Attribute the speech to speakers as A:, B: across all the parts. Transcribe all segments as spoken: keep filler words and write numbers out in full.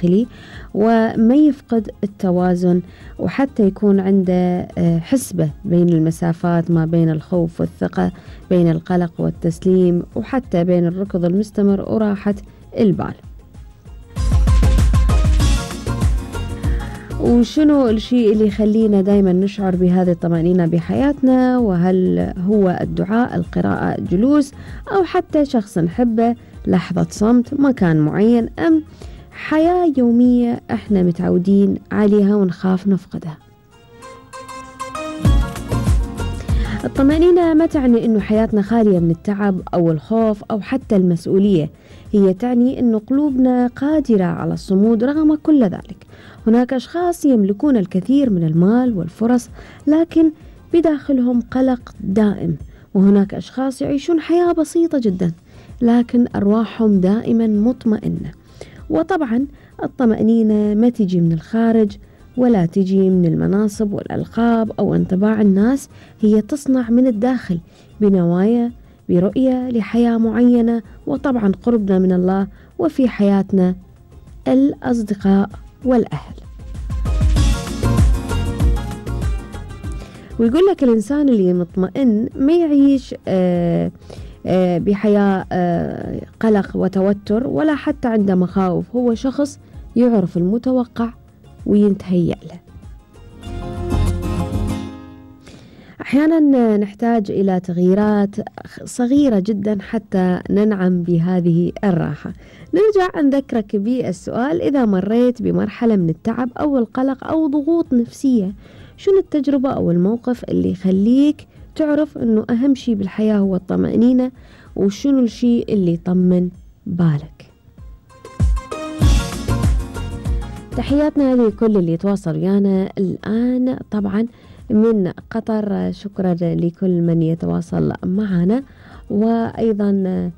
A: الداخلي وما يفقد التوازن، وحتى يكون عنده حسبة بين المسافات ما بين الخوف والثقة، بين القلق والتسليم، وحتى بين الركض المستمر وراحة البال. وشنو الشيء اللي يخلينا دايما نشعر بهذه الطمأنينة بحياتنا؟ وهل هو الدعاء، القراءة، الجلوس، أو حتى شخص نحبه، لحظة صمت، مكان معين، أم حياة يومية احنا متعودين عليها ونخاف نفقدها؟ الطمأنينة ما تعني انه حياتنا خالية من التعب او الخوف او حتى المسؤولية، هي تعني انه قلوبنا قادرة على الصمود رغم كل ذلك. هناك اشخاص يملكون الكثير من المال والفرص لكن بداخلهم قلق دائم، وهناك اشخاص يعيشون حياة بسيطة جدا لكن ارواحهم دائما مطمئنة. وطبعا الطمأنينة ما تجي من الخارج ولا تجي من المناصب والألقاب أو انطباع الناس، هي تصنع من الداخل بنوايا، برؤية لحياة معينة، وطبعا قربنا من الله، وفي حياتنا الأصدقاء والأهل. ويقول لك الإنسان اللي مطمئن ما يعيش آه آه بحياة آه قلق وتوتر ولا حتى عنده مخاوف، هو شخص يعرف المتوقع وينتهيأ له. أحيانا نحتاج إلى تغييرات صغيرة جدا حتى ننعم بهذه الراحة. نرجع نذكرك بالسؤال: إذا مريت بمرحلة من التعب أو القلق أو ضغوط نفسية، شنو التجربة أو الموقف اللي يخليك تعرف أنه أهم شيء بالحياة هو الطمأنينة، وشنو الشيء اللي يطمن بالك؟ تحياتنا لكل اللي يتواصل ويانا الآن طبعا من قطر، شكرا لكل من يتواصل معنا. وأيضا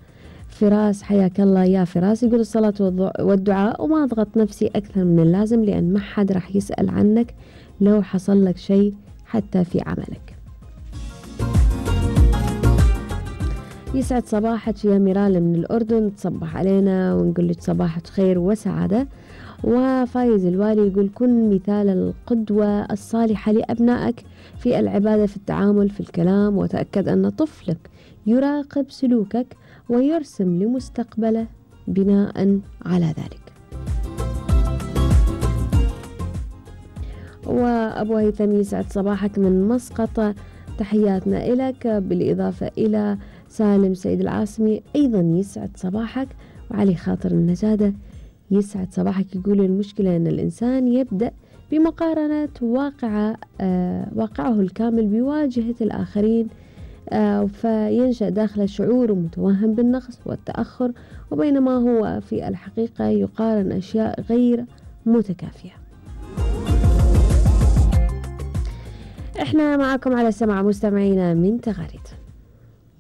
A: فراس، حياك الله يا فراس، يقول الصلاة والدعاء وما أضغط نفسي أكثر من اللازم لأن ما حد راح يسأل عنك لو حصل لك شيء حتى في عملك. يسعد صباحك يا ميرال من الأردن، تصبح علينا ونقول لك صباحك خير وسعادة. وفايز الوالي يقول: كن مثال القدوة الصالحة لأبنائك في العبادة، في التعامل، في الكلام، وتأكد أن طفلك يراقب سلوكك ويرسم لمستقبله بناء على ذلك. وأبو هيثم يسعد صباحك من مسقط، تحياتنا إلك، بالإضافة إلى سالم سيد العاصمي أيضا يسعد صباحك. وعلي خاطر النجادة يسعد صباحك، يقول: المشكلة أن الإنسان يبدأ بمقارنة واقع آه واقعه الكامل بواجهة الآخرين، آه فينشأ داخله شعور متوهم بالنقص والتأخر، وبينما هو في الحقيقة يقارن أشياء غير متكافية. احنا معكم على سمع مستمعينا من تغاريد.